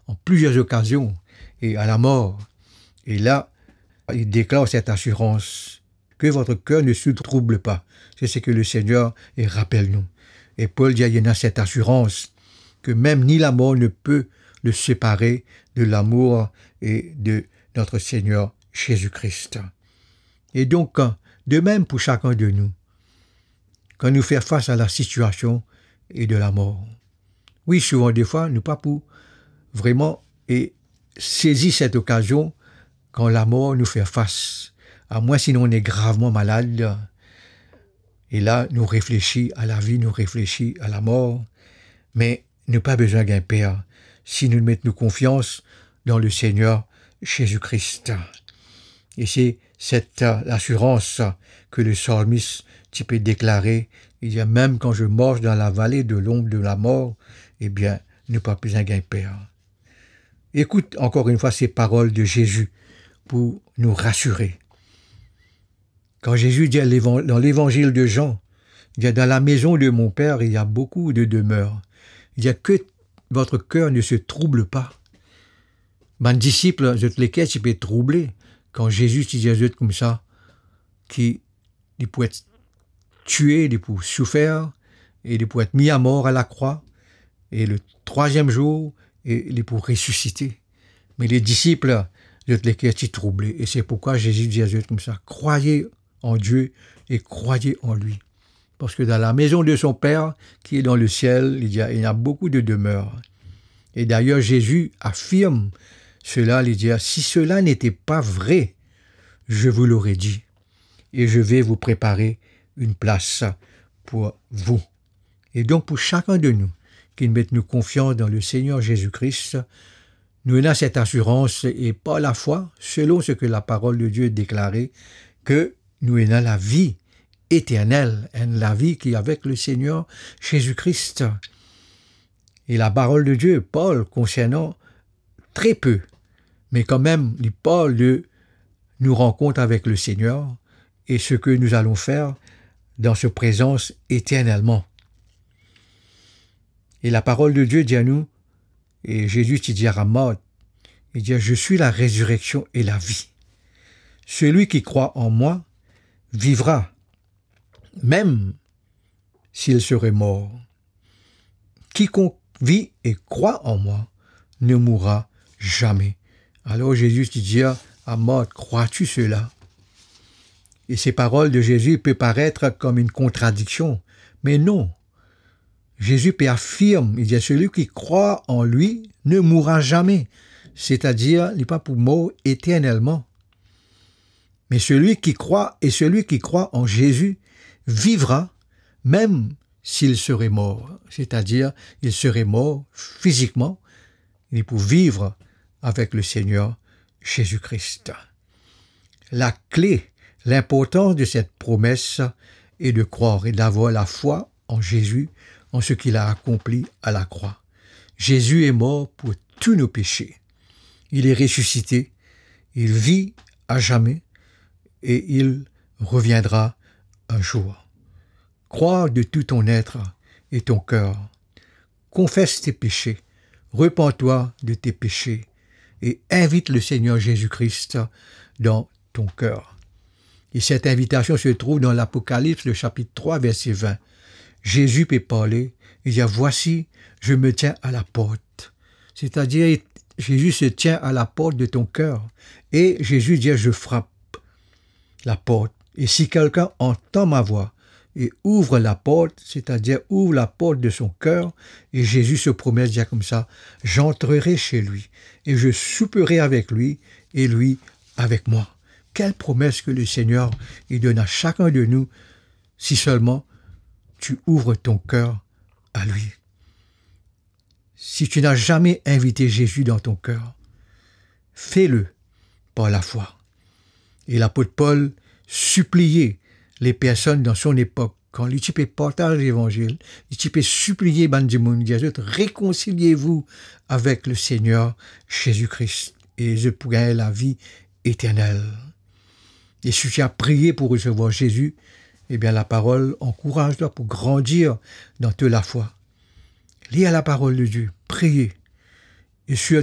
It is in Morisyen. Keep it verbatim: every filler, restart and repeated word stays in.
en plusieurs occasions et à la mort. Et là, il déclare cette assurance, que votre cœur ne se trouble pas. C'est ce que le Seigneur, il rappelle nous. Et Paul dit, il y a cette assurance que même ni la mort ne peut le séparer de l'amour et de notre Seigneur Jésus-Christ. Et donc, de même pour chacun de nous, kan nou fer fas a lasitiasion e de lamor. Wi, souvan defwa, nou pa pou vreman e sezi set okazion kan lamor nou fer fas. Amwins si nou ene gravman malad, e la nou reflesi a lavi, nou reflesi a lamor, me nou pa bizin gagn per si nou met nou konfians dan Lesegner Zezi Kris. E se set, euh, lasirans ke le salmis ti pe deklare, li dir, "Même quand je marche dans la vallée de l'ombre de la mort, ebien, nou pa bizin gagn per." Écoute encore une fois ces paroles de Jésus pour nous rassurer. Quand Jésus dit à l'évan-, dans l'évangile de Jean, il dit, "Dans la maison de mon Père, il y a beaucoup de demeures." Il dit, "Que votre cœur ne se trouble pas." Bann disip, zot leker ti pe trouble kan Zezi ti dir zot koumsa ki li pou et tue, li pou soufer, e li pou et mi amor a lakrwa, e le trwaziem zour, e li pou resisite. Me le disip, zot leker ti trouble, e se pourkwa Zezi dir zot koumsa, "Croyez en Dieu et croyez en lui. Parce que dans la maison de son Père qui est dans le ciel, il y a, il y a beaucoup de demeures." Et d'ailleurs, Jésus affirme cela, il dit, "Si cela n'était pas vrai, je vous l'aurais dit, et je vais vous préparer une place pour vous." E donk, pou sakenn de nou ki met nou konfians dan Lesegner Zezi Kris, nou ena set asirans e par lafwa, selon seki laparol de Die deklare, ke nou ena lavi eternel, enn lavi ki avek Lesegner Zezi Kris. E laparol de Die parl konsernan tre pe, me kanmem, li parl de nou rankont avek Lesegner e seki nou alon fer dan so prezans eternelman. E laparol de Die dir nou, e Zezi ti dir a Mart, li dir, "Je suis la résurrection et la vie. Celui qui croit en moi vivra, même s'il serait mort. Quiconque vit et croit en moi ne mourra jamais." Alor Zezi ti dir a Mart, "Crois-tu cela?" E se parol de Zezi pe paret kom enn kontradiksion, me non. Zezi pe afirm, li dir, "Celui qui croit en lui ne mourra jamais." Setadir, li pa pou mor eternelman. Mais celui qui croit, et celui qui croit en Jésus vivra, même s'il serait mort. C'est-à-dire, il serait mort physiquement, li pou viv avek Lesegner Zezi Kris. Lakle, linportans de set promes est de croire et d'avoir la foi en Jésus, en ce qu'il a accompli à la croix. Jésus est mort pour tous nos péchés. Il est ressuscité, il vit à jamais et il reviendra un jour. Crois de tout ton être et ton cœur. Confesse tes péchés, repens-toi de tes péchés et invite le Seigneur Jésus-Christ dans ton cœur. Et cette invitation se trouve dans l'Apocalypse, le chapitre trois, verset vingt. Jésus peut parler, il dit, "Voici, je me tiens à la porte." C'est-à-dire, Jésus se tient à la porte de ton cœur. Et Jésus dit, "Je frappe la porte. Et si quelqu'un entend ma voix et ouvre la porte", c'est-à-dire ouvre la porte de son cœur, et Jésus se promet, dit comme ça, "J'entrerai chez lui et je souperai avec lui et lui avec moi." Quelle promesse que le Seigneur, il donne à chacun de nous, si seulement tu ouvres ton cœur à lui. Si tu n'as jamais invité Jésus dans ton cœur, fais-le par la foi. E lapot Pol sipliye le personn dan son epok, kan li ti pe partaz levanzil, li ti pe sipliye bann dimoun, dir zot, "Réconciliez-vous avec le Seigneur Jésus-Christ, e zot pou gagn lavi eternel." E si tu as prié pour recevoir Jésus, ebien, laparol ankouraz twa pou grandir dan to lafwa. Lir laparol de Die, priye. E sirtou,